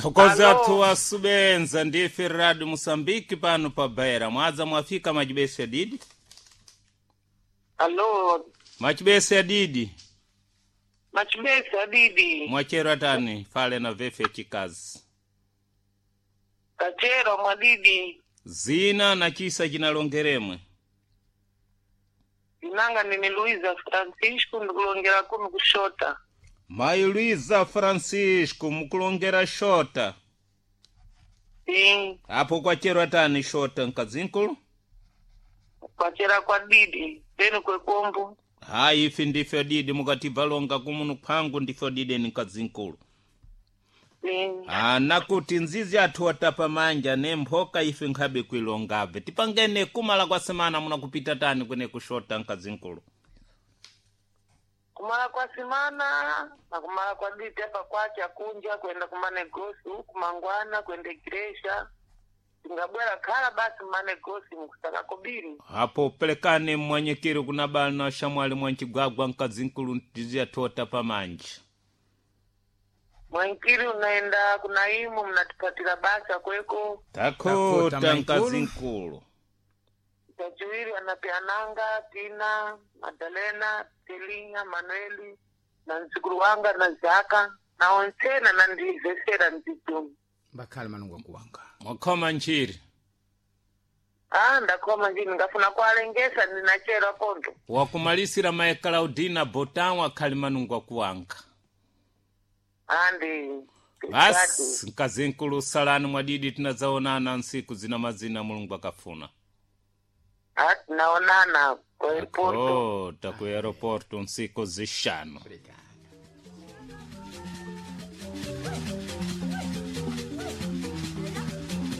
Thokoza Alo. athu wasubenza ndife Radio Mosambiki pano pa Beira. Mwadza mwafika machibese adidi? Alo, Machibese adidi. machibesi adidi. Mwachero atani fale na vefe chikazi. Kachero mwadidi. Zina na chisa chinalongeremwe. Inanga nini Luiza Francisco ndikulongera kuno kushota. Mai Luiza Francisco mukulongera shota. Sim, Apo kwachero atani shota mkazinkulu? kwachera kwa didi. Tenu kwekombo. Hayi ife ndife adidi mukatibva longa kumunu kwangu ndife adidi ni mkazinkulu. Sim. Ana kuti nzizi athu watapa manja ne mphoka ife nkhabe kuilongabve tipangene kumala kwa semana munakupita tani kwene kushota mkazinkulu. Kumala kwa simana na kumala kwa didi apa kwacha kunja kwenda kumanegosi huku mangwana kwenda igreja. Tingabwera khala basi manegosi mukusaka kobiri. Apo pelekane mmwanyekeri kuna bana shamwali mwanchigwagwa mkazinkulu nzizi athu watapa manja. Mwankiri unaenda kuna imu mnatupatira basa kweko. Takota Takota mkazinkulu. Tachiwiri anapeananga Tina, Madalena, Telinya, Manueli na nzukuru wanga na Zaka na onsena na ndizesera nzitumi. Mbakhale manungu akuwanga. Mwakhoma nchiri. Ah, ndakhoma njini ngafuna kualengesa ndinachera kondo. Wakumalisira mae Claudina Botan wakhali manungu akuwanga. Andi. Basi mkazinkulu salani mwadidi tinadzaonana nsiku zina mazina Mulungu akafuna. Ah, tinaonana kwa airport. Kota ku aeroporto nsiku zishanu. Obrigado.